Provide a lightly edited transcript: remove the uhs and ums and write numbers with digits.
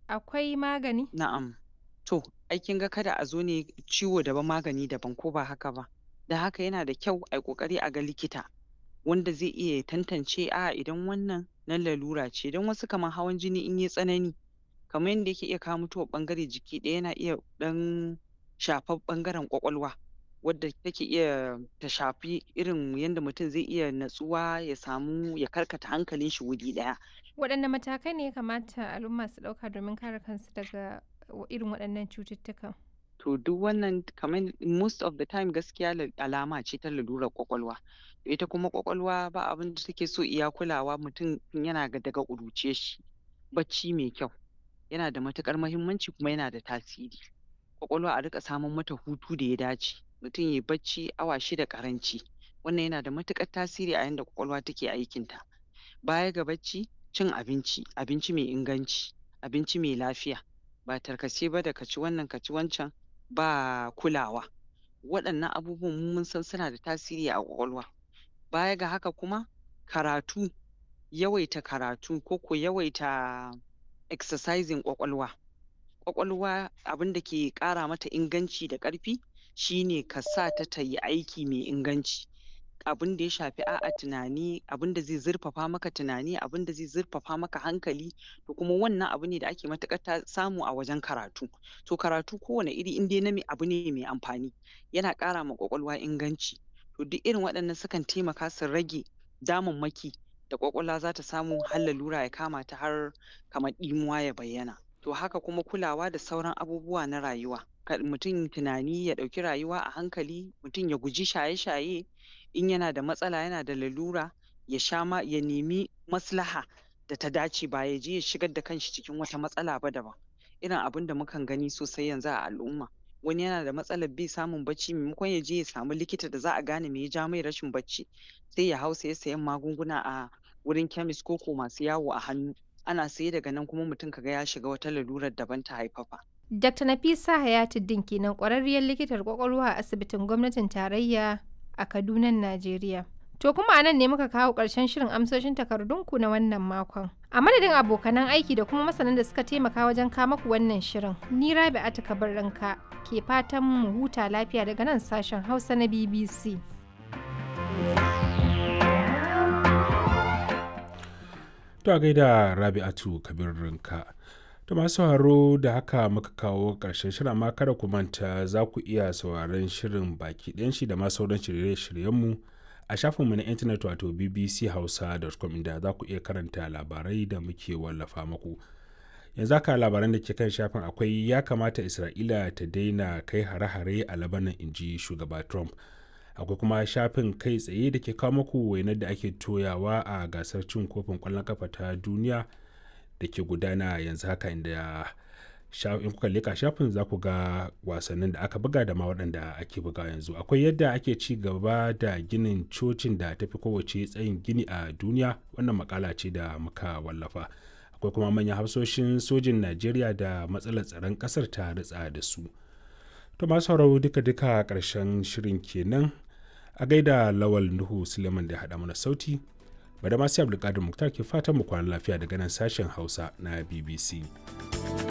Akwai magani? Na'am. To, ai kin ga kada a zo ne ciwo daban magani daban ko ba haka ba. Don haka yana da kyau ai ƙoƙari a ga likita wanda zai iya ya tantance a'a idan wannan na lalura ce don wasu kamar hawan jini in yai tsanani kamar yanda yake iya kawo mutuwar ɓangare jiki ɗaya yana iya ɗan shafar ɓangaren ƙwaƙwalwa wadda take iya ta shafi irin yanda mutum zai iya natsuwa ya samu ya karkata hankalin shi wuri ɗaya. Waɗanne matakai ne ya kamata al'umma su ɗauka domin kare kansu daga irin waɗannan cututtukan? To duk wannan kamar most of the time gaskiya alama ce ta lalurar ƙwaƙwalwa. Ita kuma ƙwaƙwalwa ba abin da take so iya kulawa mutum tun yana daga ƙuruciyar shi. Bacci mai kyau yana da matuƙar muhimmanci kuma yana da tasiri. Ƙwaƙwalwa a riƙa samar mata hutu da ya dace. Mutum yayi bacci awa 6 ƙaranci. Wannan yana da matuƙar tasiri a yanda ƙwaƙwalwa take aikinta. Baya ga bacci, cin abinci, abinci mai inganci, abinci mai lafiya. Ba tarkace ba da ka ci wannan ka ci wancan ba kulawa. Waɗannan abubuwan mu mun san suna da tasiri a ƙwaƙwalwa. Baya ga haka kuma karatu, yawaita karatu ko ko yawaita exercising ƙwaƙwalwa. Ƙwaƙwalwa abin da ke ƙara mata inganci da ƙarfi shine ka sa ta ta yi aiki mai inganci. Abin da ya shafi a'a tunani, abin da zai zurfafa maka tunani, abin da zai zurfafa maka hankali to kuma wannan abu ne da ake matuƙar samu a wajen karatu. To karatu kowane iri in dai na abu ne mai amfani yana ƙara ma ƙwaƙwalwa inganci. To duk irin waɗannan sukan taimaka su rage damammaki da ƙwaƙwalwa za ta samu har lalura ya kama ta har kamar ɗimuwa ya bayyana. To haka kuma kulawa da sauran abubuwa na rayuwa. Kar mutum tunani ya ɗauki rayuwa a hankali, mutum ya guji shaye-shaye, in yana da matsala yana da lalura ya sha ma ya nemi maslaha da ta dace ba ya je ya shigar da kanshi cikin wata matsala ba daban. Irin abin da mukan gani sosai yanzu a al'umma. Wani yana da matsalar bai samun bacci maimakon ya je ya samu likita da za a gane me ya ja mai rashin bacci, sai ya hau saye-sayen magunguna a wurin chemist ko ko masu yawo a hannu. Ana saye daga nan kuma mutum ka ga ya shiga wata lalurar daban ta haifafa. Dr. Nafisa Hayatuddin kenan ƙwararriyar likitar ƙwaƙwalwa a asibitin gwamnatin tarayya a Kadunan Najeriya. To kuma a nan ne muka kawo ƙarshen shirin amsoshin takardunku na wannan makon. A madadin abokanan aiki da kuma masanan da suka taimaka wajen kama ku wannan shirin, ni Rabi'atu Kabirrinka ke fatan mu huta lafiya daga nan sashen Hausa na BBC. To a gaida Rabi'atu Kabirrinka. To masu sauraro da haka muka kawo ƙarshen shirin amma kada ku manta za ku iya sauraron shirin baki ɗayan shi da ma sauran shirye-shiryenmu a shafinmu na intanet wato bbchausa.com inda za ku iya karanta labarai da muke wallafa muku. Yanzu haka labaran da ke kan shafin akwai ya kamata Isra'ila ta daina kai hare-hare a Labanan inji shugaba Trump. Akwai kuma shafin kai tsaye da ke kawo muku wainar da ake toyawa a gasar cin kofin ƙwallon kafa ta duniya da ke gudana yanzu haka inda in kuka leka shafin za ku ga wasannin da aka buga da ma waɗanda ake buga yanzu. Akwai yadda ake ci gaba da ginin cocin da tafi kowace tsayin gini a duniya, wannan makala ce da muka wallafa. Akwai kuma manyan hafsoshin sojin Najeriya da matsalar tsaron ƙasar ta ritsa da su. To masu sauraro duka-duka ƙarshen shirin kenan. A gaida Lawal Nuhu Suleiman da ya haɗa mana sauti. Bada masu Abdulkadir Muktar ke fatan mu kwana lafiya daga nan sashen Hausa na BBC.